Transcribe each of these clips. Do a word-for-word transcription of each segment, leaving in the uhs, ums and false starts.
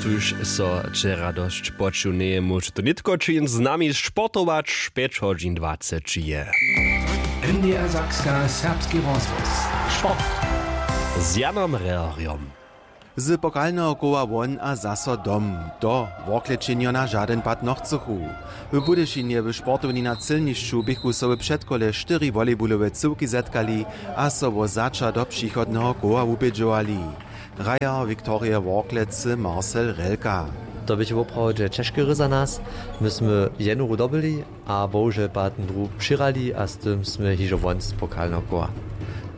Tuž so wčera dosć počuł, njeje móž to nětko čin z nami sportować, pjeć hodźin dwaceći je. N D R Sakska, serbski rozhłos. Sport. Z Janom Rehrjom. Z pokalneho koła won a zaso dom, to worklećenjo na žadyn pad nochcychu. W Budyšinje w sportowni na Cylnišću běchu so w předkole štyri volejbulowe cyłki zetkali a so wo zača do přichodneho koła wubědźowali. Hrajer Viktorije Worklecy Marcel Relka. To běchu woprawdźe ćežke hry za nas. My smy jednu hru dobyli a bohužel pak dru přěhrali a z tym smy hižo won z pokalneho koła.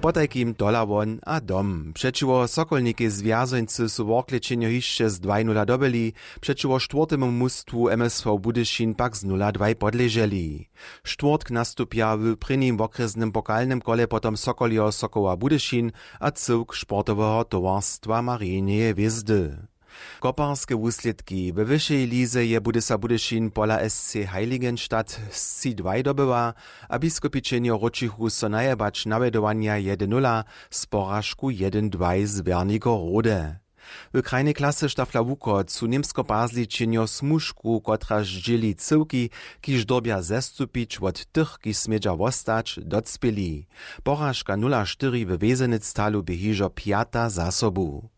Potajkim tola won a dom. Přećiwo Sokolnikej z Wjazońcy su Worklećenjo hišće z dwaj nula dobyli, přećiwo štwórtemu mustwu M S V Budyšin pak z nula dwaj podleželi. Štwórtk nastupja w prěnim wokrjesnym pokalnym kole potom Sokoliho Sokoła Budyšin a cyłk sportoweho towarstwa Marineje hwězdy. Koparske wuslědki. We wyšej lize je Budysa Budyšin pola S C Heiligenstadt z tři dwaj dobyła a Biskopićenjo wróćichu so najebać nawjedowanja jedyn nula z poražku jedyn dwaj z Wernigerode. W krajnej klasy Štafla Łukoc su Němsko-Pazličenjo Smužku, kotraž dźěli cyłki, kiž dyrbja zestupić wot tych, kiž smědźa wostać, docpěli. Poražka nula štyri we Wesenectalu bě hižo pjata za sobu.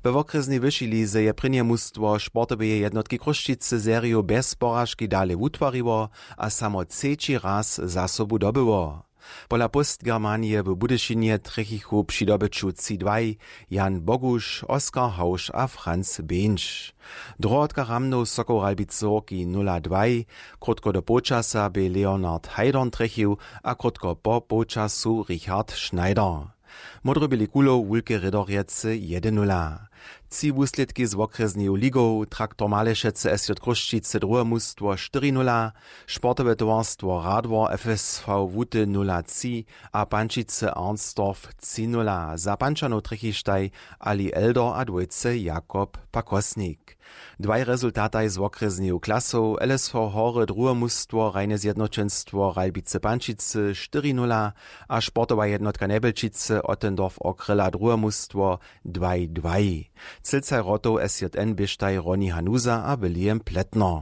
We wokrjesnej wyšej lize je prěnje mustwo sportoweje jednotki Chrósćicy seriju bjez poražki dale wutwariło a samo třeći raz za sobu dobyło. Pola Postgermanije w Budyšinje trjechichu při dobyću tři dwaj Jan Boguš, Oskar Hauš a Franz Běnš. Druhotka Ramnow Sokoł Ralbicy Horki nula dwaj. Krótko do połčasa bě Leonard Haydorn trjechił a krótko po połčasu Richard Schneider. Módroběli kulow Wulke Rědorjecy jedyn nula. Tři wuslědki z wokrjesneju ligow: Traktor Malešecy S J Chrósćicy druhe mustwo štyri nula, sportowe towarstwo Radwor F S V Łuty nula tři a Pančicy Arnsdorf tři nula. Za Pančanow trjechištaj Ali Elder a dwójce Jakob Pakosnik. Dwaj rezultataj z wokrjesneju klasow: L S V Hory druhe mustwo Rajne zjednoćenstwo Ralbicy Pančicy štyri nula a sportowa jednotka Njebjelčicy Ottendorf Okryla druhe mustwo dwaj dwaj. Cylcaj wrotow S J N běštaj Ronny Hanusa a William Plätner.